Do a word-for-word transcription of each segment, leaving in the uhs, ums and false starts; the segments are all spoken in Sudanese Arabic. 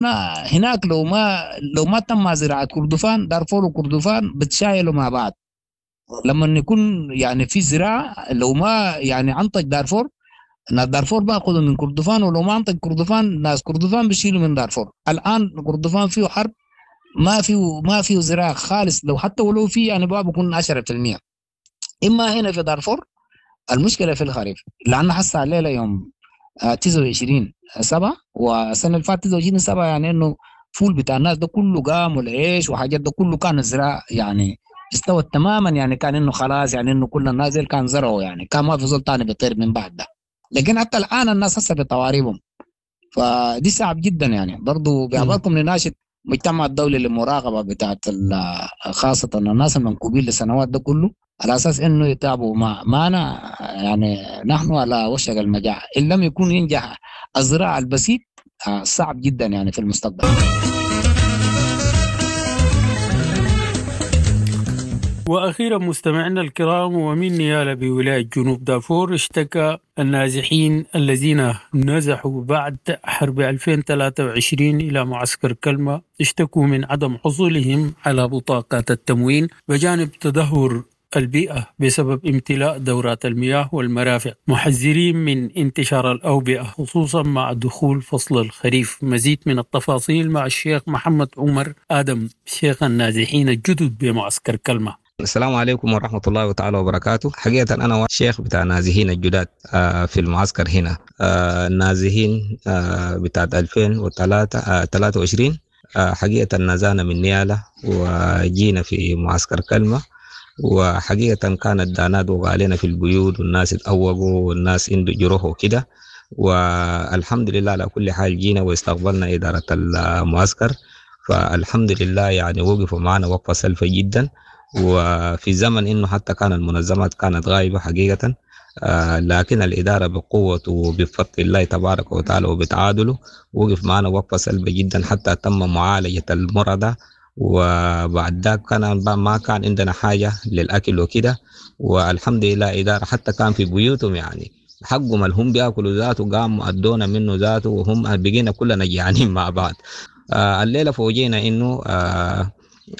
هناك لو ما لو ما تم زراعة كردفان، دارفور وكردفان بتشايلوا مع بعض. لما يكون يعني في زراعة، لو ما يعني أنتج دارفور، ناس دارفور بأخذوا من كردفان، ولو ما أنتج كردفان ناس كردفان بيشيلوا من دارفور. الآن كردفان فيه حرب، ما فيه، ما فيه زراعة خالص، لو حتى ولو فيه يعني بقى بيكون عشرة في المية. إما هنا في دارفور المشكلة في الخريف، لأن حصل الليلة يوم، آه، تسعة وعشرين سبعة، والسنة اللي فاتت تسعة وعشرين سبعة، يعني إنه فول بتاع الناس ده كله قام والعيش وحاجات ده كله كان الزراعة يعني استوت تماما، يعني كان إنه خلاص، يعني إنه كل الناس ديل كان زرعوا، يعني كان ما في زول تاني بيطير من بعد ده. لكن حتى الآن الناس هسه بتواريبهم، فدي صعب جدا. يعني برضو بأعباركم نناشد المجتمع الدولي للمراقبة بتاعت ال-، خاصة الناس المنكوبين لسنوات ده كله، على أساس إنه يتابعوا مع-، معنا. يعني نحن على وشك المجاعة، إن لم يكون ينجح الزراعة البسيط، آه، صعب جدا يعني في المستقبل. وأخيرا مستمعينا الكرام، ومن نيالا بولاية جنوب دارفور اشتكى النازحين الذين نزحوا بعد حرب ألفين وثلاثة وعشرين إلى معسكر كلمة، اشتكوا من عدم حصولهم على بطاقات التموين بجانب تدهور البيئة بسبب امتلاء دورات المياه والمرافق، محذرين من انتشار الأوبئة خصوصا مع دخول فصل الخريف. مزيد من التفاصيل مع الشيخ محمد عمر آدم، شيخ النازحين الجدد بمعسكر كلمة. السلام عليكم ورحمة الله تعالى وبركاته. حقيقة أنا شيخ بتاع نازحين الجداد، آه، في المعسكر هنا. آه، النازحين، آه، بتاعت ألفين وثلاثة، آه، ثلاثة وعشرين، آه، حقيقة نزانا من نيالا وجينا في معسكر كلمة، وحقيقة كانت دانات وقع علينا في البيوت والناس اتأوقوا والناس عنده جروح وكده، والحمد لله على كل حال جينا واستقبلنا إدارة المعسكر، فالحمد لله يعني وقفوا معنا وقفة سلفة جدا. وفي زمن إنه حتى كان المنظمات كانت غايبة حقيقة، آه، لكن الإدارة بقوة وبفضل الله تبارك وتعالى وبتعادله وقف معنا وقفة سلبة جدا حتى تم معالجة المرضى. وبعد ذاك كان ما كان عندنا حاجة للأكل وكده، والحمد لله إدارة حتى كان في بيوتهم يعني حقهم اللي هم بياكلوا ذاته قاموا أدونا منه ذاته، وهم بقينا كلنا جيعانين مع بعض. آه، الليلة فوجئنا إنه، آه،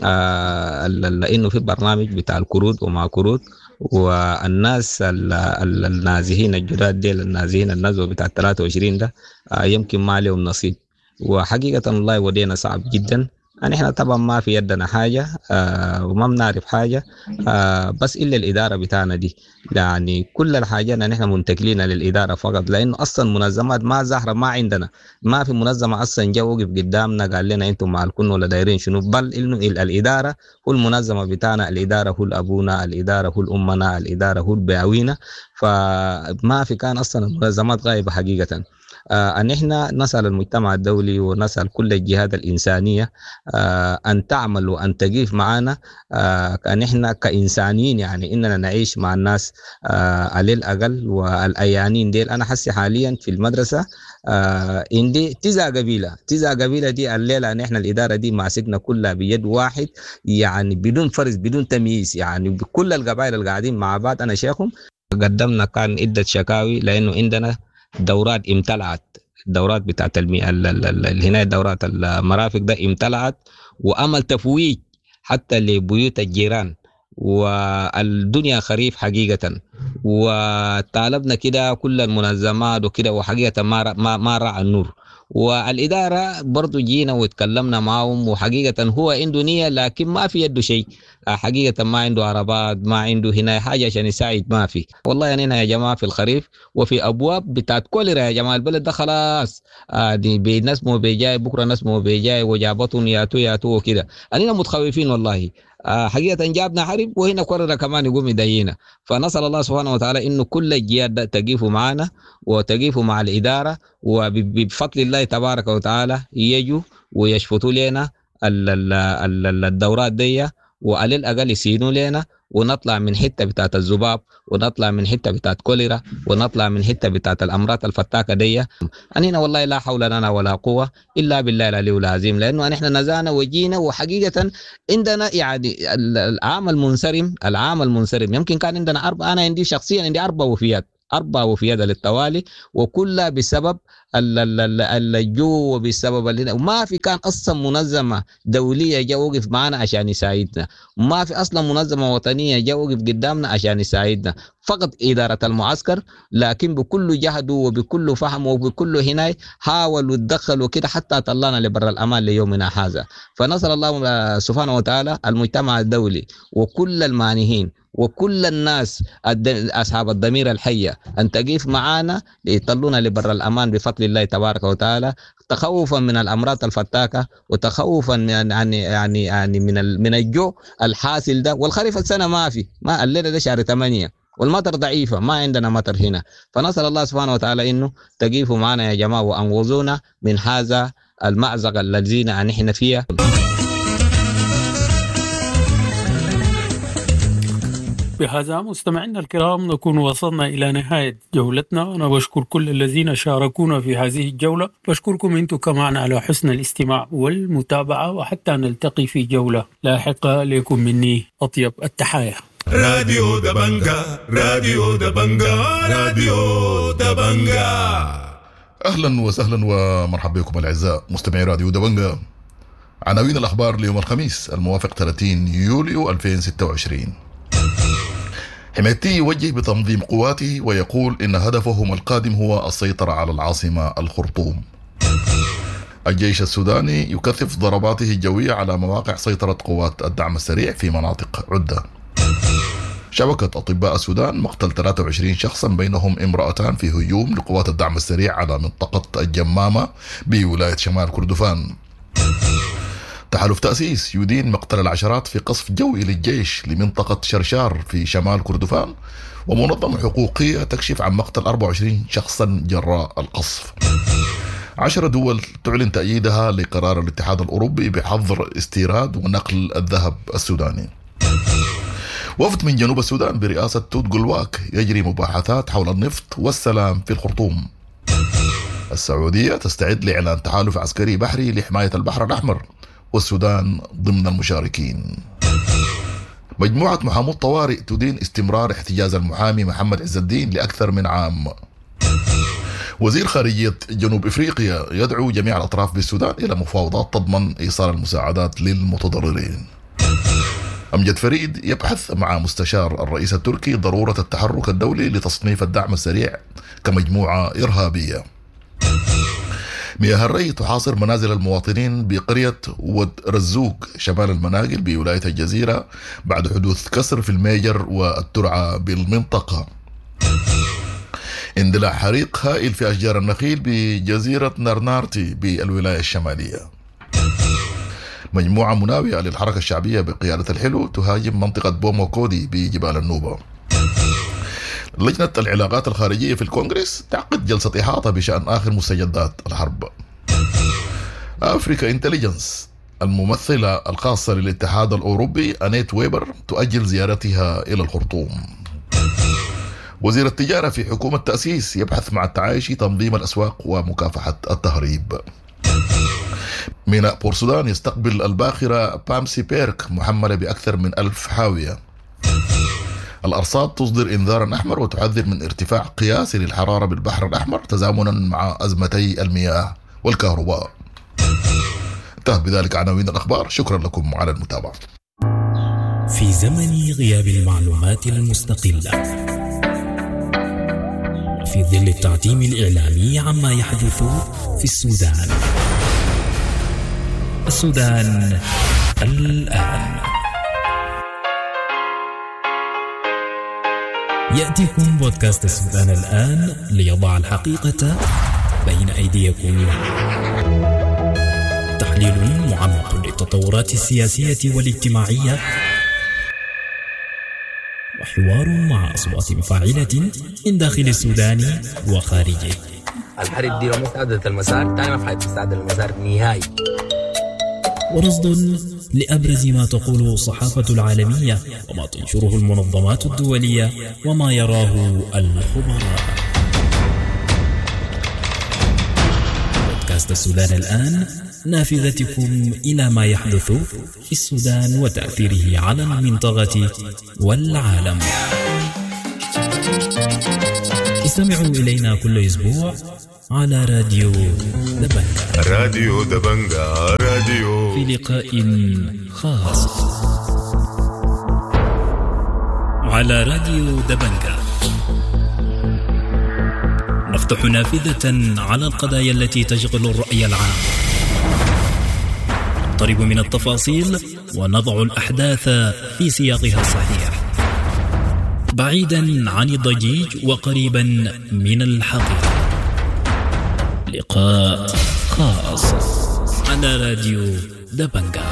آه، ال-، ال-، إنه في برنامج بتاع الكروت وما كروت، والناس ال-، ال-، النازحين الجداد ديل، النازحين النزوة بتاع ثلاثة وعشرين ده، آه، يمكن ما لهم نصيب. وحقيقة والله ودينا صعب جدا. يعني إحنا طبعا ما في يدنا حاجة، آه، وما بنعرف حاجة، آه، بس إلا الإدارة بتاعنا دي، يعني كل الحاجة إن إحنا منتقلين للإدارة فقط، لأنه أصلا منظمات ما ظاهرة، ما عندنا، ما في منظمة أصلا جا وقف قدامنا قال لنا أنتم مع الكن ولا دايرين شنو، بل إنه ال-، الإدارة هو المنظمة بتاعنا، الإدارة هو الأبونا، الإدارة هو الأمنا، الإدارة هو البياوينا، فما في كان أصلا المنظمات غايبة حقيقة. آه، أن إحنا نسأل المجتمع الدولي ونسأل كل الجهات الإنسانية، آه، أن تعمل وأن تقف معنا، آه، أن إحنا كإنسانيين يعني إننا نعيش مع الناس، آه، على الأقل. والأيانين ديل أنا حسي حاليا في المدرسة، آه، عندي تسع قبيلة، تسع قبيلة دي الليلة أن إحنا الإدارة دي ماسكنا كلها بيد واحد، يعني بدون فرز بدون تمييز، يعني بكل القبائل اللي قاعدين مع بعض. أنا شيخهم قدمنا كان عدة شكاوي لأنه عندنا دورات امتلعت، الدورات بتاعت المي-، ال-، ال-، ال-، ال-، هنا دورات المرافق ده امتلعت، وأمل تفويج حتى لبيوت الجيران، والدنيا خريف حقيقة. وطالبنا كده كل المنظمات وكده، وحقيقة ما ر-، ما-، ما رأى النور. والإدارة برضو جينا وتكلمنا معهم، وحقيقة هو عنده نية لكن ما في يده شيء، حقيقة ما عنده عربات، ما عنده هنا حاجة عشان يساعد، ما في والله. يعني هنا يا جماعة في الخريف وفي أبواب بتاعت كوليرا يا جماعة، البلد ده خلاص، آه، دي بي-، ناس مو بيجاي بكرة، ناس مو بيجاي وجابتهم ياتو ياتو وكده، أننا متخوفين والله. آه، حقيقة جابنا حرب وهنا كوليرا كمان يقوم يدينا. فنسأل الله سبحانه وتعالى إنه كل الجهات ده تقيفوا معنا وتقيفوا مع الإدارة، وبفضل الله تبارك وتعالى يجوا ويشفطوا لنا ال-، ال-، ال-، ال-، الدورات دي، وعلى الأقل يسينوا لنا، ونطلع من حتة بتاعت الذباب، ونطلع من حتة بتاعت كوليرا، ونطلع من حتة بتاعت الأمراض الفتاكة دي. أننا والله لا حول لنا ولا قوة إلا بالله العلي العظيم، لأنه نحن نزعنا وجينا، وحقيقة عندنا يعني ال-، العام المنصرم، العام المنصرم يمكن كان عندنا أربعة، أنا عندي شخصيا عندي أربع وفيات، أربع وفيات للتوالي، وكلها بسبب الجوع وبسبب ما في كان اصلا منظمة دولية جا وقف معنا عشان يساعدنا، ما في اصلا منظمة وطنية جا وقف قدامنا عشان يساعدنا، فقط ادارة المعسكر، لكن بكل جهده وبكل فهمه وبكل هناي حاول وتدخل وكده حتى طلعنا لبر الامان ليومنا هذا. فنسال الله سبحانه وتعالى المجتمع الدولي وكل المانحين وكل الناس أصحاب الضمير الحية أن تقف معنا ليطلونا لبر الأمان بفضل الله تبارك وتعالى، تخوفا من الأمراض الفتاكة وتخوفا من يعني يعني يعني من من الجوع الحاصل ده. والخريف السنة ما في، ما الليلة ده شهر ثمانية والمطر ضعيفة، ما عندنا مطر هنا. فنسأل الله سبحانه وتعالى إنه تقيفوا معنا يا جماعة وأنقذونا من هذا المأزق الذين نحن فيه. بهذا مستمعينا الكرام نكون وصلنا إلى نهاية جولتنا. أنا بشكر كل الذين شاركونا في هذه الجولة، بشكركم أنتم كمان على حسن الاستماع والمتابعة، وحتى نلتقي في جولة لاحقة. لكم مني أطيب التحايا. راديو دبنجا، راديو دبنجا، راديو دبنجا. أهلا وسهلا ومرحبا بكم الأعزاء مستمعي راديو دبنجا. عناوين الأخبار ليوم الخميس الموافق ثلاثين يوليو ألفين وستة وعشرين. حميدتي يوجه بتنظيم قواته ويقول إن هدفهم القادم هو السيطرة على العاصمة الخرطوم. الجيش السوداني يكثف ضرباته الجوية على مواقع سيطرة قوات الدعم السريع في مناطق عدة. شبكة أطباء السودان مقتل ثلاثة وعشرين شخصا بينهم امرأتان في هجوم لقوات الدعم السريع على منطقة الجمامة بولاية شمال كردفان. تحالف تأسيس يدين مقتل العشرات في قصف جوي للجيش لمنطقة شرشار في شمال كردفان، ومنظمة حقوقية تكشف عن مقتل أربعة وعشرين شخصا جراء القصف. عشر دول تعلن تأييدها لقرار الاتحاد الأوروبي بحظر استيراد ونقل الذهب السوداني. وفد من جنوب السودان برئاسة توت جلواك يجري مباحثات حول النفط والسلام في الخرطوم. السعودية تستعد لإعلان تحالف عسكري بحري لحماية البحر الأحمر، والسودان ضمن المشاركين. مجموعة محامو الطوارئ تدين استمرار احتجاز المحامي محمد عز الدين لأكثر من عام. وزير خارجية جنوب إفريقيا يدعو جميع الأطراف بالسودان إلى مفاوضات تضمن إيصال المساعدات للمتضررين. أمجد فريد يبحث مع مستشار الرئيس التركي ضرورة التحرك الدولي لتصنيف الدعم السريع كمجموعة إرهابية. مياه الري تحاصر منازل المواطنين بقرية ود رزوق شمال المناقل بولاية الجزيرة بعد حدوث كسر في الميجر والترعة بالمنطقة. اندلاع حريق هائل في أشجار النخيل بجزيرة نارنارتي بالولاية الشمالية. مجموعة مناوئة للحركة الشعبية بقيادة الحلو تهاجم منطقة بوموكودي بجبال النوبة. لجنة العلاقات الخارجية في الكونغرس تعقد جلسة إحاطة بشأن آخر مستجدات الحرب. Africa Intelligence الممثلة الخاصة للاتحاد الأوروبي أنيت ويبر تؤجل زيارتها إلى الخرطوم. وزير التجارة في حكومة تأسيس يبحث مع التعايشي تنظيم الأسواق ومكافحة التهريب. ميناء بورسودان يستقبل الباخرة بامسي بيرك محملة بأكثر من ألف حاوية. الأرصاد تصدر إنذارا أحمر وتحذر من ارتفاع قياسي للحرارة بالبحر الأحمر تزامنا مع أزمتي المياه والكهرباء. انتهى بذلك عناوين الأخبار، شكرا لكم على المتابعة. في زمن غياب المعلومات المستقلة وفي ظل التعتيم الإعلامي عما يحدث في السودان، السودان الآن يأتيكم بودكاست السودان الآن ليضع الحقيقة بين أيديكم. تحليل معمق للتطورات السياسية والاجتماعية، وحوار مع أصوات فاعلة من داخل السودان وخارجه. الحرب دي لو ما استعدلت المسار تاني ما في حد تستعدل المسار نهائي. ورصد لأبرز ما تقوله الصحافة العالمية وما تنشره المنظمات الدولية وما يراه الخبراء. بودكاست السودان الآن، نافذتكم إلى ما يحدث في السودان وتأثيره على المنطقة والعالم. استمعوا إلينا كل أسبوع على راديو دبنجا. راديو دبنجا، راديو في لقاء خاص على راديو دبنجا نفتح نافذة على القضايا التي تشغل الرأي العام، نقترب من التفاصيل ونضع الأحداث في سياقها الصحيح، بعيدا عن الضجيج وقريبا من الحقيقة. لقاء خاص على راديو دبنجا.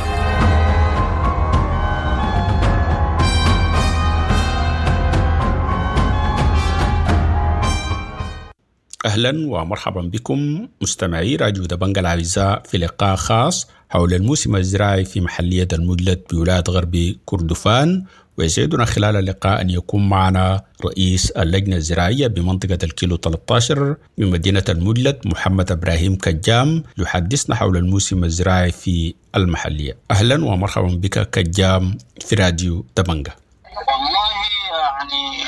أهلا ومرحبا بكم مستمعي راديو دبنجا الأعزاء في لقاء خاص حول الموسم الزراعي في محلية المجلد بولاية غرب كردفان. ويسعدنا خلال اللقاء أن يكون معنا رئيس اللجنة الزراعية بمنطقة الكيلو ثلاثة عشر من مدينة المجلد محمد إبراهيم كجام يحدثنا حول الموسم الزراعي في المحلية. أهلا ومرحبا بك كجام في راديو دبنجا. والله يعني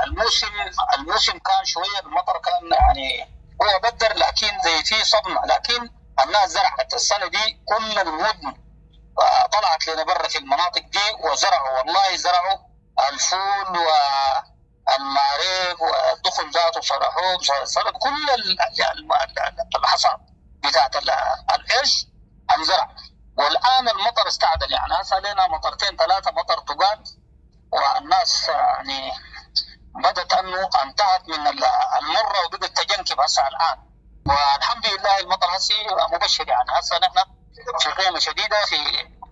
الموسم الموسم كان شوية المطر كان يعني هو بدر، لكن زي في صدمة، لكن الناس زرعت السنة دي كل المدن طلعت لنا برا في المناطق دي وزرعوا، والله زرعوا الفول والمعريق والدخل ذاته صرحوه صرح كل الحصاد بتاعت العيش انزرع. والآن المطر استعدل، يعني هسه لنا مطرتين ثلاثة مطر تقال، والناس يعني بدت انه انتهت من المرة وبدت تجنكب هسه الآن، والحمد لله المطر هسه مبشر، يعني هسه نحن في قيمة شديدة في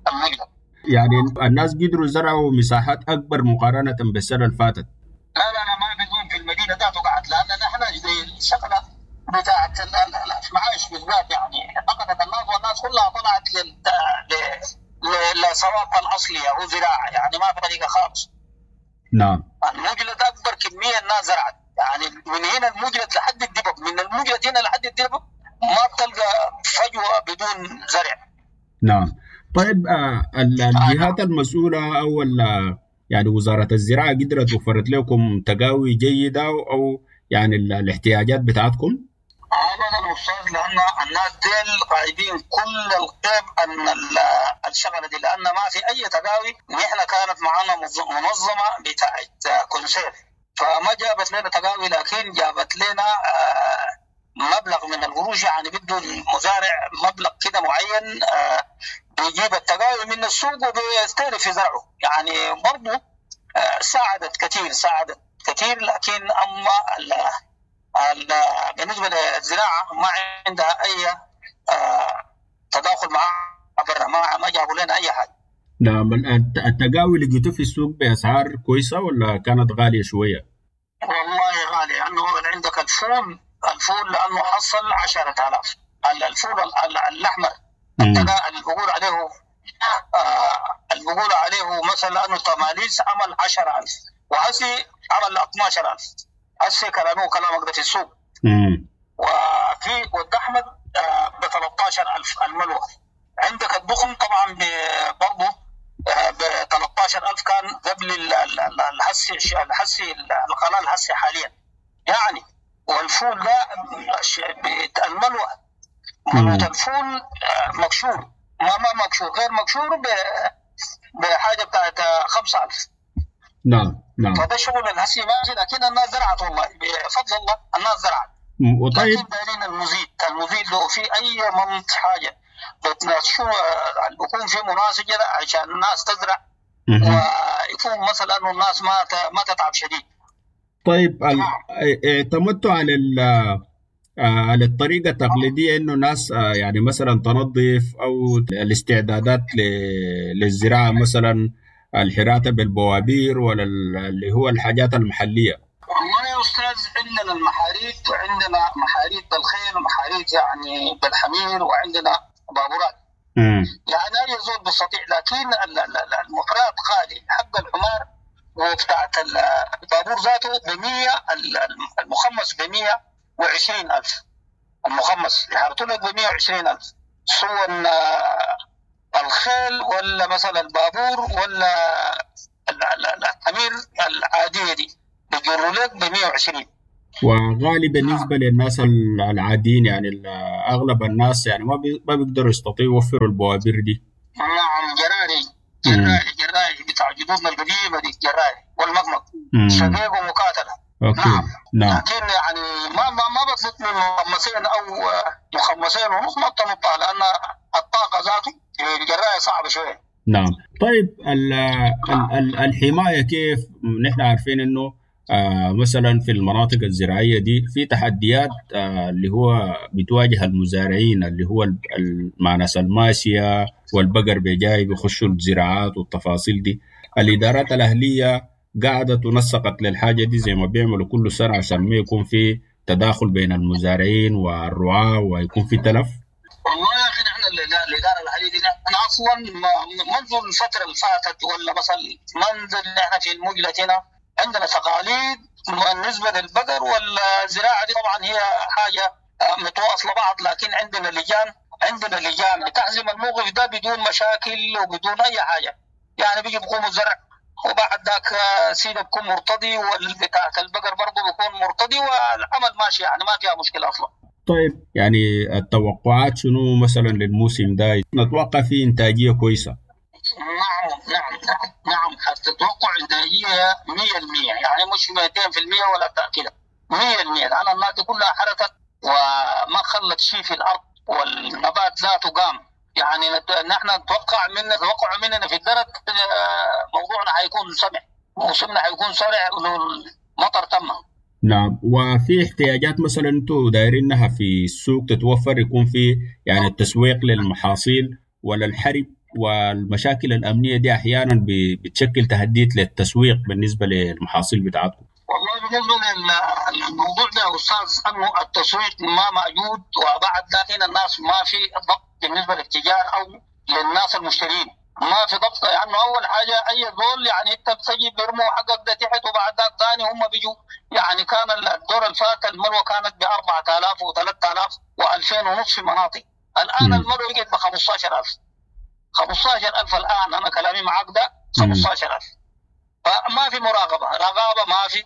المجلد. يعني الناس قدروا زرعوا مساحات أكبر مقارنة بالسنة اللي فاتت. لا لا لا ما بيكون في المدينة ذاته قعد، لأن نحن زي الشغلة بتاعت المعايش بالذات يعني فقدت الناس، والناس كلها طلعت لل لصوابها الأصلية هو زراعة، يعني ما في طريقة خالص. نعم. المجلد أكبر كمية الناس زرعت، يعني من هنا المجلد لحد الدبب، من المجلد هنا لحد الدبب ما بتلقى فجوة بدون زرع. نعم. طيب آه الجهات المسؤولة أو يعني وزارة الزراعة قدرت وفرت لكم تقاوي جيدة أو يعني الاحتياجات بتاعتكم؟ أبدا أستاذ، لأن الناس ديل غايبين كل الغيب أن الشغلة دي، لأن ما في أي تقاوي. نحن كانت معنا منظمة بتاعت كونسير، فما جابت لنا تقاوي، لكن جابت لنا آه مبلغ من القروش، يعني بده المزارع مبلغ كده معين آه بيجيب التقاوي من السوق وبيستهلك في زرعه، يعني برضه آه ساعدت كثير، ساعدت كثير. لكن أما ال ال بالنسبة للزراعة ما عندها أي آه تداخل مع برا، ما ما جابوا لنا أي حاجة. نعم. التقاوي اللي لقيته في السوق بأسعار كويسة ولا كانت غالية شوية؟ والله غالية، لأنه عندك الفول الفول لأنه حصل عشرة آلاف، الفول الأحمر اللي بقول عليه آه اللي بقول عليه مثلا أنه تماليس عمل عشرة ألف، وهسي عمل اثنا عشر ألف، هسي كلامه كلامك ده في السوق. مم. وفي والأحمد آه ب ثلاثة عشر ألف الملوى. عندك الضخم طبعا برضه آه ب ثلاثة عشر ألف كان قبل الحسي الحسي القلال الحسي حاليا يعني. والفول ده الملوى ملوى الفول مكشور، ما ما مكشور غير مكشور بحاجة بتاعت خمسة ألف. نعم نعم. فده شغل الهسي ماشي، لكن الناس زرعت والله بفضل الله الناس زرعت. وطيب لكن دايرين المزيد، المزيد لو في أي منط حاجة بتنشو بيكون في مناسجة عشان الناس تزرع، ويكون مثلا إنه الناس ما ما تتعب شديد. طيب اعتمدتوا على على الطريقة التقليدية إنه ناس يعني مثلا تنظف أو الاستعدادات للزراعة، مثلا الحراتة بالبوابير ولا اللي هو الحاجات المحلية؟ والله يا أستاذ عندنا المحاريت، وعندنا محاريت بالخيل ومحاريت يعني بالحمير، وعندنا بابورات. مم. يعني أي زول بستطيع، لكن المحرات غالي، حق الحمار وبتاعت البابور ذاته بمية، المخمس بمية وعشرين ألف، المخمس يحرطوا لك بمية وعشرين ألف، سواء الخيل ولا مثلا البابور ولا الحمير العادية دي بيجروا لك بمية وعشرين. وغالي بالنسبة للناس العاديين، يعني أغلب الناس يعني ما ما بيقدروا يستطيعوا يوفروا البوابير دي. نعم جراري جراري جراري بتاع جدودنا القديمة دي، جراري والمقمق شقيق ومقاتلة. okay. نعم. نعم. لكن يعني ما ما ما بتنط من مخمسين او مخمسين ونص ما بتنطها، لان الطاقة ذاته الجرايه صعبة شوية. نعم. طيب ال ال الحماية كيف؟ نحن عارفين انه آه مثلا في المناطق الزراعية دي في تحديات آه اللي هو بتواجه المزارعين، اللي هو مع ناس الماشية والبقر بيجاي بيخشوا الزراعات والتفاصيل دي. الادارات الاهلية قعدت ونسقت للحاجة دي زي ما بيعملوا كل سنة عشان ما يكون في تداخل بين المزارعين والرعاة ويكون في تلف. والله يا أخي نحن الإدارة الأهلية دي نحن أصلا منذ الفترة اللي فاتت ولا مثلا منذ نحن في المجلة هنا عندنا تقاليد بالنسبة للبقر والزراعة دي، طبعا هي حاجة متواصلة بعض، لكن عندنا لجان عندنا لجان بتحزم الموقف ده بدون مشاكل وبدون أي حاجة. يعني بيجي بيقوموا الزرع وبعد ذاك سيده بيكون مرتضي والبتاعة البقر برضه بيكون مرتضي والعمل ماشي، يعني ما فيها مشكلة أصلا. طيب يعني التوقعات شنو مثلا للموسم ده؟ نتوقع فيه إنتاجية كويسة؟ نعم نعم نعم نعم حتتوقع إنتاجية مية بالمية، يعني مش مئتين بالمية ولا كده، مية بالمية، لأن الناس كلها حركت وما خلت شيء في الأرض والنبات ذاته قام. يعني نحن نتوقع من نتوقع مننا في الدرك موضوعنا حيكون سمع، موسمنا حيكون سرع والمطر تم. نعم. وفي احتياجات مثلا انتم دايرينها في السوق تتوفر، يكون في يعني التسويق للمحاصيل ولا الحرب والمشاكل الأمنية دي أحيانا بتشكل تهديد للتسويق بالنسبة للمحاصيل بتاعتكم؟ والله بالنسبة للموضوع ده يا أستاذ أنه التسويق ما موجود، وبعد ذاك الناس ما في ضبط بالنسبة للتجار أو للناس المشترين، ما في ضبط. يعني أول حاجة أي زول يعني أنت بتجي بيرموا حقك ده تحت، وبعد ذاك ثاني هم بيجوا. يعني كان الدور الفات الملوى كانت ب أربعة آلاف وثلاثة آلاف وألفين ونص في مناطق، الآن الملوى بقت ب خمسة عشر ألف، خمسة عشر ألف الآن. أنا كلامي معاك ده خمسة عشر ألف. فما في مراقبة، رقابة ما في.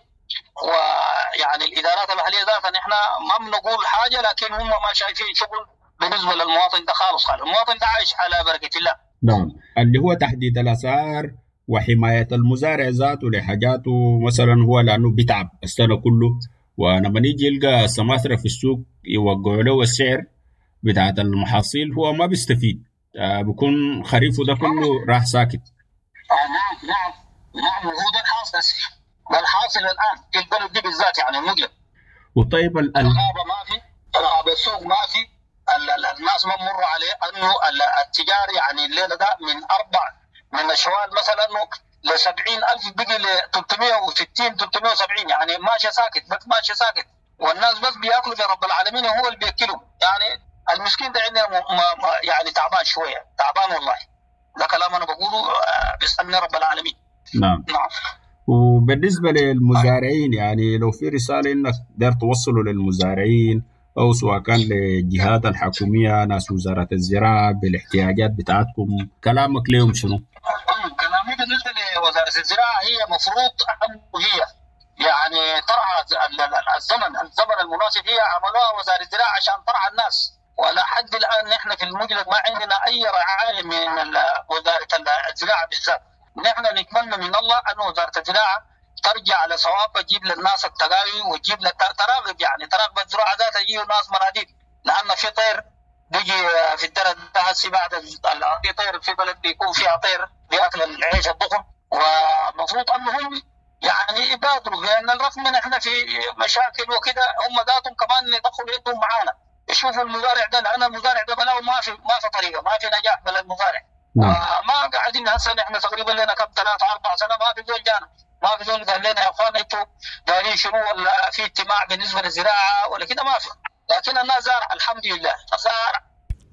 ويعني الإدارات المحلية ذاتها نحن ما بنقول حاجة، لكن هم ما شايفين شغل بالنسبة للمواطن ده خالص خالص. المواطن ده عايش على بركة الله. نعم. اللي هو تحديد الأسعار وحماية المزارع ذاته لحاجاته مثلا، هو لأنه بيتعب السنة كله، ولما يجي يلقى سماسرة في السوق يوقعوا له السعر بتاعت المحاصيل هو ما بيستفيد، آه بيكون خريفه ده كله راح ساكت. آه نعم نعم نعم، وهو ده الحاصل، ده الحاصل الآن في البلد دي بالذات، يعني المجلس. وطيب ال الغابة ما في، الغابة السوق ما في، الناس ما مر عليه انه التجار يعني الليلة ده من اربع من الشوال مثلا انه ل سبعين ألف بقي ل ثلاثمية وستين ثلاثمية وسبعين، يعني ماشي ساكت بس ماشي ساكت، والناس بس بياكلوا برب العالمين هو اللي بياكلهم. يعني المسكين ده عندنا يعني تعبان شوية، تعبان والله. ده كلام انا بقوله بيسالني رب العالمين. نعم نعم. وبالنسبة للمزارعين يعني لو في رسالة انك داير توصله للمزارعين أو سواء كان للجهات الحكومية ناس وزارة الزراعة بالاحتياجات بتاعتكم، كلامك لهم شنو؟ كلامي بالنسبة لوزارة الزراعة هي مفروض أن هي يعني ترعى الزمن الزمن المناسب، هي عملوها وزارة الزراعة عشان ترعى الناس، ولا حد الآن نحن في المجلس ما عندنا أي رعاية من وزارة الزراعة بالذات. نحن نتمنى من الله أن وزارة الزراعة ترجع لصواب، تجيب للناس التقاوي وتجيب تراغب، يعني تراغب الزراعة ذاتها، تجيب الناس مناديب، لأن في طير بيجي في الدرة هسي بعد في طير في بلد بيكون فيها طير بياكل العيش الضخم، ومفروض أنهم يعني يبادروا، لأن الرغم من احنا في مشاكل وكده هم ذاتهم كمان يدخلوا يدهم معانا، يشوفوا المزارع ده، لأن المزارع ده بلاو ما في ما في طريقة، ما في نجاح بلا المزارع. نعم. ما قاعدين هسه نحن تقريبا لنا كم ثلاثة أربع سنة ما في زول جانا، ما في زول قال لنا يا اخوان انتوا دارين شنو، ولا في اجتماع بالنسبة للزراعة ولا كده، ما في. لكن الناس زارع الحمد لله زارع.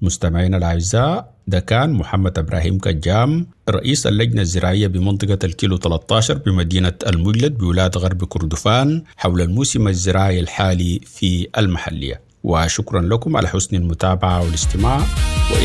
مستمعينا الأعزاء، ده كان محمد إبراهيم كجام رئيس اللجنة الزراعية بمنطقة الكيلو ثلاثة عشر بمدينة المجلد بولاية غرب كردفان حول الموسم الزراعي الحالي في المحلية. وشكرا لكم على حسن المتابعة والاستماع.